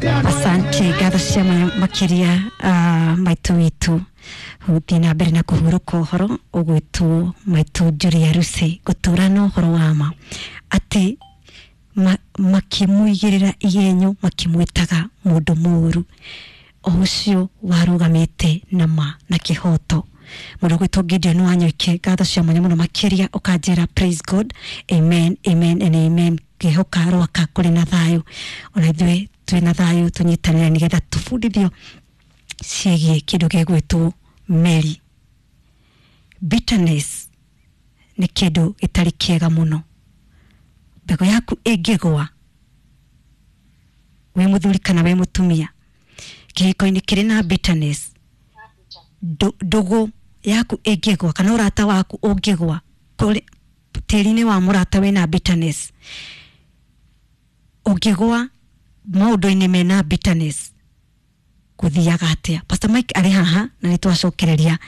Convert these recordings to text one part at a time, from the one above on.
Asante, ngatho cia mwanya makiria maitu witũ gũthiĩ na mbere na kũhurũka ũhoro ũgwĩtwo maitu Julia Rusi gũtũra na ũhoro wa ma atĩ makĩmũigĩrĩra igenyo makĩmwĩtaga mũndũ mũũru o ũcio warũgamĩte na ma na kĩhoto. Mũndũ ũgwĩtwo Gideon Wanyoike, ngatho cia mwanya mũno makĩria ũkanjĩra praise God, amen, amen and amen. Ngĩhoka rwaka kũrĩ na thayũ, ona ithuĩ twĩ na thayũ, tũnyitanĩre nĩgetha tũbundithio ciĩgiĩ kĩndũ gĩgwĩtwo meri. Bitterness nĩ kĩndũ gĩtarĩ kĩega mũno. Mbegũ yaku ĩngĩgwa wĩ mũthuri kana wĩ mũtumia kĩhiko-inĩ kĩrĩ na bitterness, ndũgũ yaku ĩngĩgwa kana ũrata waku ũngĩgwa tĩri-inĩ wa mũrata wĩna bitterness, ũngĩgwa maũndũ-inĩ mena bitterness, gũthiaga atĩa? Pastor Mike arĩ haha na nĩ twacokereria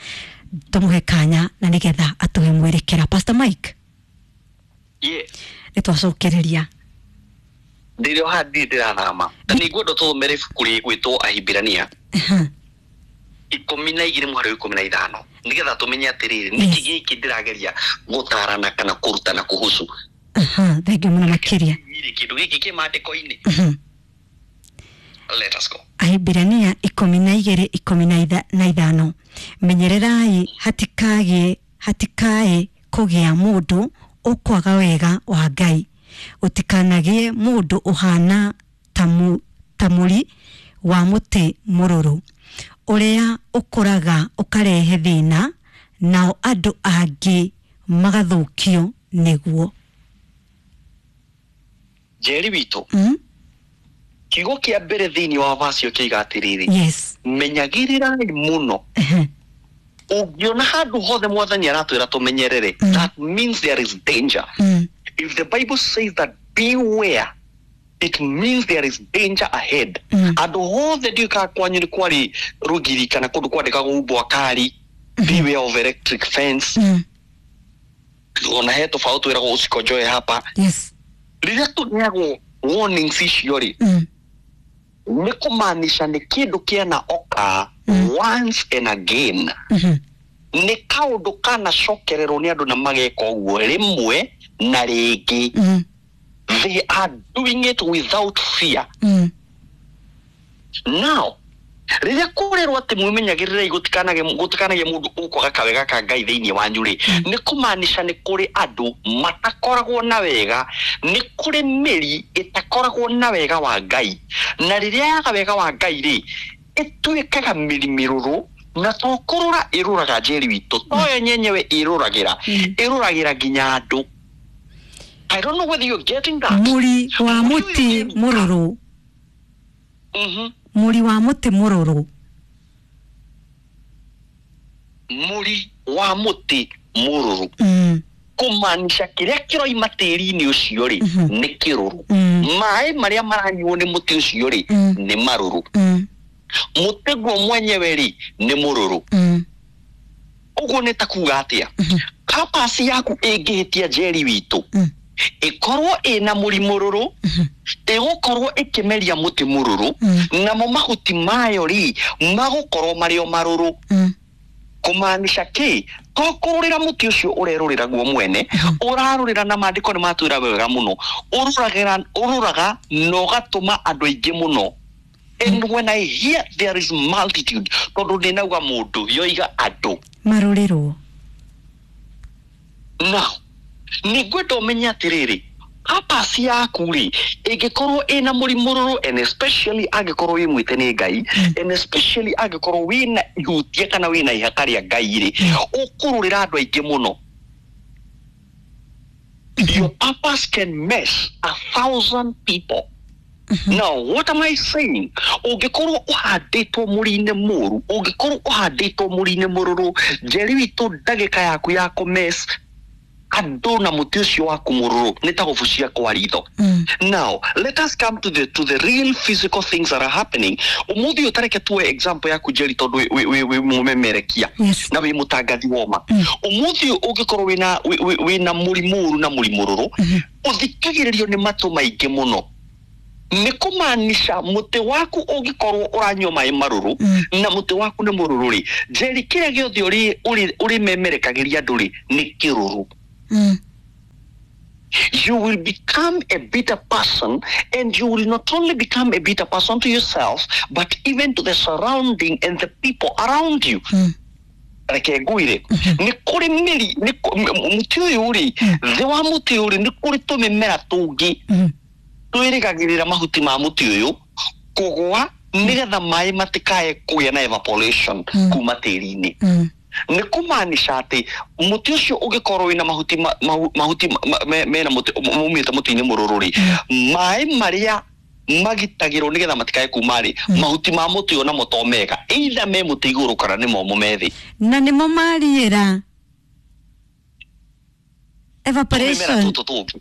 tũmũhe kanya na nĩgetha atũhe mwerekera. Pastor Mike. Yes. Nĩ twacokereria. Ndĩrĩ o haha, ndirĩ ndĩrathama, na nĩ ngwenda tũthomere ibuku rĩgwĩtwo Ahibirania 12 mũhari wa 15 nĩgetha tũmenye atĩrĩrĩ, nĩkĩ gĩkĩ ndĩrageria gũtarana kana kũrutana kuhusu. Aha, thengiũ mũno makĩria. Rĩ, kĩndũ gĩkĩ kĩ maandĩko-inĩ. Let us go. Ahibirania 12 15: menyererai hatikae kũgĩa mũndũ ũkwaga wega wa Ngai, gũtikanagĩe mũndũ ũhana ta mũri wa mũtĩ mũrũrũ ũrĩa ũkũraga ũkarehe thĩna, nao andũ angĩ magathũkio nĩguo. Njeri witũ, kiugo kĩa mbere thĩinĩ wa vacio kĩiga atĩrĩrĩ, menyagĩrĩrai mũno. Ũngĩona handũ hothe Mwathani aratwĩra tũmenyerere, that means there is danger. If the Bible says that beware, it means there is danger ahead. Andũ hothe, ndiũĩ kana kwanyu nĩ kwarĩ rũgiri kana kũndũ kwandĩkagwo umbwa kari, beware of electric fence. Ona he tũbaũ twĩragwo usikonjoe hapa. Rĩrĩa tũneagwo warnings icio rĩ, nĩ kũmaanisha nĩ kĩndũ kĩana oka once and again. Nĩ kaũndũ kanacokererwo nĩ andũ na mageka ũguo rĩmwe na rĩngĩ. They are doing it without fear. Now rĩrĩa kũrerwo atĩ mwĩmenyagĩrĩrei gũtikanagĩe mũndũ ũkwaga kawega ka Ngai thĩinĩ wanyu rĩ, nĩ kũmaanisha nĩ kũrĩ andũ matakoragwo na wega, nĩ kũrĩ mĩri ĩtakoragwo na wega wa Ngai, na rĩrĩa yaga wega wa Ngai rĩ, ĩtuĩkaga mĩri mĩrũrũ, na to kũrũra ĩrũraga, Njeri witũ, toyo nyenyewe ĩrũragĩra, ĩrũragĩra nginya andũ. I don't know whether you're getting that. Mũri wa mũtĩ mũrũrũ. Mũri wa mũtĩ mũrũrũ. Mũri wa mũtĩ mũrũrũ, kũmaanisha kĩrĩa kĩroima tĩri-inĩ ũcio rĩ, nĩ kĩrũrũ. Maĩ marĩa maranyuo nĩ mũtĩ ũcio rĩ, nĩ marũrũ. Mũtĩ guo mwenyewe rĩ, nĩ mũrũrũ. Ũguo nĩ ta kuga atĩa? Purpose yaku ĩngĩhĩtia, Njeri witũ, ĩkorwo ĩna mũri mũrũrũ, ĩgũkorwo ĩkĩmeria mũtĩ mũrũrũ, namo mahuti mayo rĩ, magũkorwo marĩ o marũrũ. Kũmaanisha kĩ? To kũrũrĩra mũtĩ ũcio ũrerũrĩra guo mwene ũrarũrĩra, na maandĩko nĩ matwĩra wega mũno, ũrũragĩra, ũrũraga na ũgatũma andũ aingĩ mũno. And when I hear there is multitude, tondũ ndĩnauga mũndũ, yoiga andũ marũrĩrwo. Now nĩ ngwenda ũmenye atĩrĩrĩ, purpose yaku rĩ, ĩngĩkorwo ĩna mũrimũ, and especially angĩkorwo wĩ mwĩte nĩ Ngai, and especially angĩkorwo wĩna ihutia kana wĩna ihaka rĩa Ngai rĩ, ũkũrũrĩra andũ aingĩ mũno. Your purpose can mess 1,000 people. Now what am I saying? Ũngĩkorwo ũhandĩtwo mũri-inĩ mũru, ũngĩkorwo ũhandĩtwo mũri-inĩ mũrũrũ, Njeri witũ, ndagĩka yaku ya kũmess andũ na mũtĩ ũcio waku mũrũrũ nĩ ta gũbucia kwa ritho. Now let us come to the real physical things that are happening ũmũthĩ ũyũ. Tareke tuoe example yaku, Njeri, tondũ wĩ mũmemerekia na wĩ mũtangathi woma. Ũmũthĩ ũyũ ũngĩkorwo wĩna mũri mũru na mũri mũrũrũ, ũthikagĩrĩrio nĩ matũ maingĩ mũno. Nĩ kũmaanisha mũtĩ waku ũngĩkorwo ũranyua maĩ marũrũ na mũtĩ waku nĩ mũrũrũ rĩ, Njeri, kĩrĩa gĩothe ũrĩmemerekagĩria andũ rĩ nĩ kĩrũrũ. You will become a bitter person, and you will not only become a bitter person to yourself, but even to the surrounding and the people around you. Reke ngwire, nĩ kũrĩ mĩri, mũtĩ ũyũ rĩ, thĩ wa mũtĩ ũyũ rĩ, nĩ kũrĩ tũmĩmera tũngĩ twĩrĩgagĩrĩra mahuti ma mũtĩ ũyũ kũgwa nĩgetha maĩ matikae kũgĩa na evaporation kuma tĩri-inĩ. Nĩ kũmaanisha atĩ mũtĩ ũcio ũngĩkorwo wĩna mahuti mahuti mena mũtĩ maumĩte mũtĩ-inĩ mũrũrũ rĩ, maĩ marĩa magitagĩrwo nĩgetha matikae kuma rĩ, mahuti ma mũtĩ ũyũ namo to mega, either me mũtĩ igũrũ kana nĩ momũ me thĩ. Na nĩmo mariĩra evaporation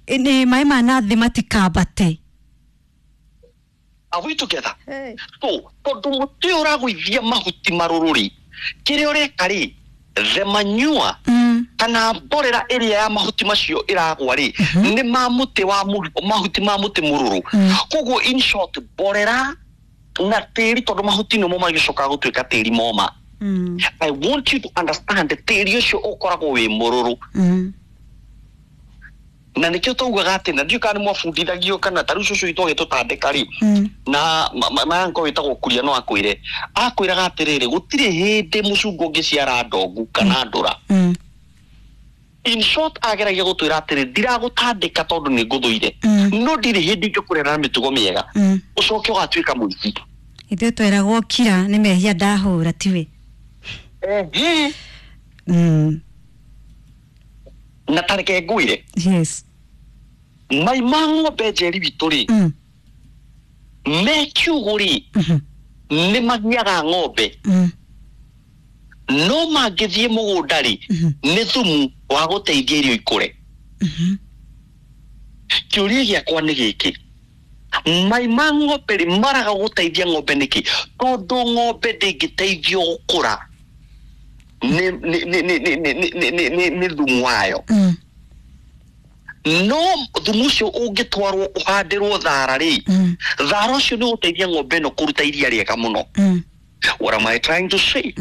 nĩ maĩ ma na thĩ matikambate. Are we together? Hey. So tondũ mũtĩ ũyũ ũragũithia mahuti marũrũ rĩ, kĩrĩa ũreka rĩ, the manure kana mborera ĩrĩa ya mahuti macio ĩragwa rĩ, nĩ ma mũtĩ wa mahuti ma mũtĩ mũrũrũ. Koguo in short, mborera na tĩri, tondũ mahuti nĩmo magĩcokaga gũtuĩka tĩri moma. I want you to understand tĩri ũcio ũkoragwo wĩ mũrũrũ. Na nĩkĩo taugaga atĩ, na ndiũĩ kana nĩ mwabundithagio kana ta rĩu cũcũ witũ agĩtũtandĩka rĩ, na mayanko wĩtagwo Kuria no akwĩre, akwĩraga atĩrĩrĩ, gũtirĩ hĩndĩ mũcungwa ũngĩciara ndongu kana ndũra. In short, ageragia gũtwĩra atĩrĩ, ndiragũtandĩka tondũ nĩ ngũthũire, no ndirĩ hĩndĩ ingĩkũrera na mĩtugo mĩega, ũcoke ũgatuĩka mũici. Ithuĩ tweragwo kira nĩ mehia ndahũra tiwe. Na tareke ngwĩre. Yes. Mai ma ng'ombe Njeri witũ rĩ, me kiugũ rĩ, nĩ magiaga ng'ombe, no mangĩthiĩ mũgũnda rĩ, nĩ thumu wa gũteithia irio ikũre. Kĩũria gĩakwa nĩ gĩkĩ, mai ma ng'ombe rĩ maraga gũteithia ng'ombe nĩkĩ? Tondũ ng'ombe ndĩngĩteithio gũkũra nĩ thumu wayo. No thumu ũcio ũngĩtwarwo ũhandĩrwo thara rĩ, thara ũcio nĩ ũgũteithia ng'ombe ĩno kũruta iria rĩega mũno. What am I trying to say?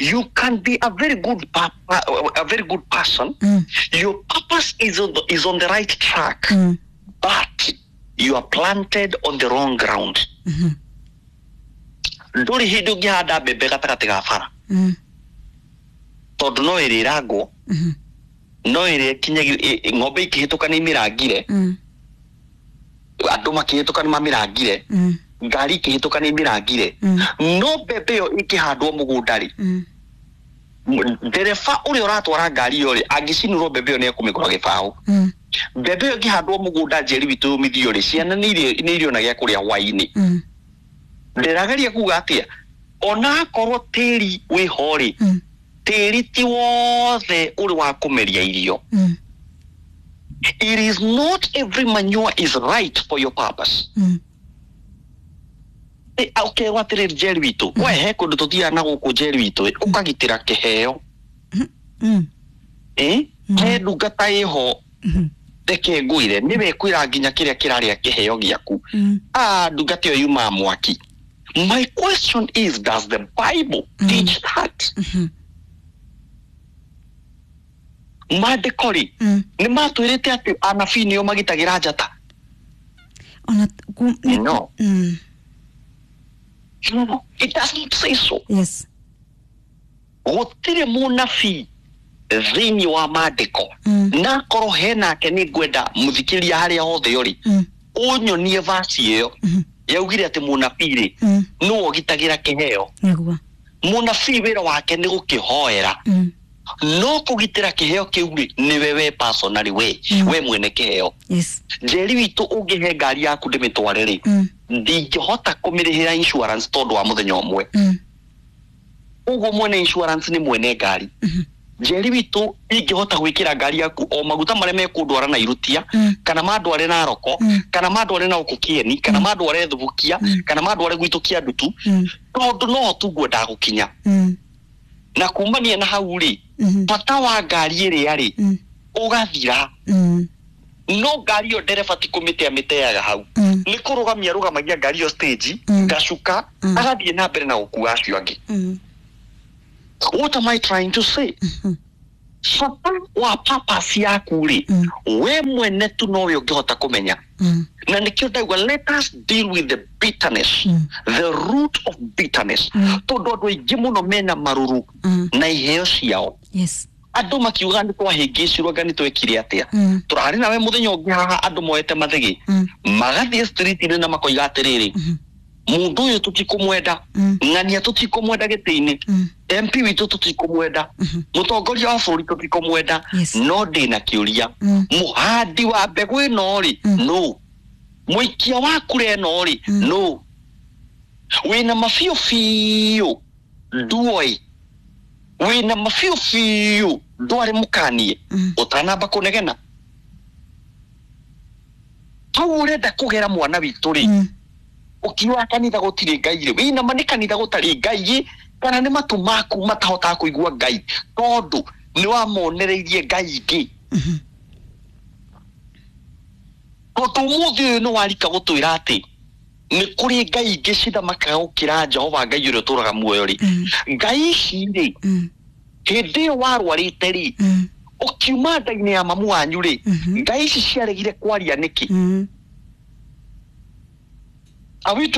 You can be a very good a very good person. Your purpose is on the right track, but you are planted on the wrong ground. Ndũrĩ hĩndĩ ũngĩhanda mbembe gatagatĩ ga bara, tondũ no ĩrĩrangwo, no ĩrĩa kinyagia ng'ombe ikĩhĩtũka nĩ imĩrangire, andũ makĩhĩtũka nĩ mamĩrangire, ngari ikĩhĩtũka nĩ imĩrangire. No mbembe ĩyo ĩkĩhandwo mũgũnda rĩ, ndereba ũrĩa ũratwara ngari ĩyo rĩ, angĩcinũrwo mbembe ĩyo nĩ ekũmĩgũra gĩbaũ. Mbembe ĩyo ĩngĩhandwo mũgũnda Njeri witũ yũmithio rĩ, ciana nĩ irĩona gĩa kũrĩa hwaĩ-inĩ. Ndĩrageria kuga atĩa, ona akorwo tĩri wĩho rĩ, tĩri ti wothe ũrĩ wa kũmeria irio. It is not every manure is right for your purpose. Ũkerwo atĩrĩrĩ Njeri witũ, we he kũndũ tũthiaga na gũkũ Njeri witũ, ũkagitĩra kĩheo. He ndungata ĩho, reke ngwĩre, nĩwe ĩkwĩra nginya kĩrĩa kĩrarĩa kĩheo gĩaku. Ndungata ĩyo yumaga mwaki. My question is, does the Bible teach that? Maandĩko rĩ, nĩ matwĩrĩte atĩ anabii nĩo magitagĩra njata? No. No, it doesn't say so. Yes. Gũtirĩ mũnabii thĩinĩ wa maandĩko, na akorwo henake nĩ ngwenda mũthikĩria harĩa hothe ũrĩ, ũnyonie vasi ĩyo yaugire atĩ mũnabii rĩ nĩwe ũgitagĩra kĩheo. Mũnabii wĩra wake nĩ gũkĩhoera, no kũgitĩra kĩheo kĩu rĩ nĩwe we personally, we mwene kĩheo. Yes. Njeri witũ ũngĩhe ngari yaku ndĩmĩtware rĩ, ndingĩhota kũmĩrĩhĩra insurance tondũ wa mũthenya ũmwe. Ũguo mwene insurance nĩ mwene ngari. Njeri witũ ingĩhota gwĩkĩra ngari yaku o maguta marĩa mekũndwara na Irutia, kana mandware na Naroko, kana mandware na gũkũ Kĩeni, kana mandware Thubukia, kana mandware gwitũ Kĩandutu, tondũ no tu ngwendaga gũkinya. Na kumania na hau rĩ, bata wa ngari ĩrĩa rĩ ũgathira. No ngari ĩyo ndereba ti kũmĩtea mĩteaga hau, nĩ kũrũgamia arũgamagia ngari ĩyo stage, gacuka, agathiĩ na mbere na gũkua acio angĩ. What am I trying to say? Bata wa purpose yaku rĩ, we mwene tu nowe ũngĩhota kũmenya. Na nĩkĩo ndauga let us deal with the bitterness, the root of bitterness, tondũ andũ aingĩ mũno mena marũrũ na iheo ciao. Andũ makiuga nĩ twahĩngĩcirwo, anga nĩ twekire atĩa. Tũrarĩ nawe mũthenya ũngĩ haha, andũ moete mathĩgĩ, magathiĩ street-inĩ na makoiga atĩrĩrĩ, mũndũ ũyũ tũtikũmwenda, ng'ania tũtikũmwenda gĩtĩ-inĩ, MP witũ tũtikũmwenda, mũtongoria wa bũrũri tũtikũmwenda. No ndĩna kĩũria, mũhandi wa mbegũ ĩno rĩ, no mũikia wa kura ĩno rĩ, no wĩna mabiũ biũ nduoĩ, wĩna mabiũ biũ ndwarĩ mũkanie ũtanamba kũnegena hau ũrenda kũgera mwana witũ rĩ, ũkiuga kanitha gũtirĩ Ngai rĩ, wĩna ma nĩ kanitha gũtarĩ Ngai kana nĩ matũ maku matahotaga kũigua Ngai tondũ nĩ wamonereirie Ngai ingĩ? Tondũ ũmũthĩ ũyũ nĩ warika gũtwĩra atĩ nĩ kũrĩ Ngai ingĩ cithamakaga gũkĩra Jehova Ngai ũrĩa ũtũraga muoyo rĩ, Ngai ici rĩ, hĩndĩ ĩyo warwarĩte rĩ, ũkiuma nda-inĩ ya mamu wanyu rĩ, Ngai ici ciaregire kwaria nĩkĩ? Are we together?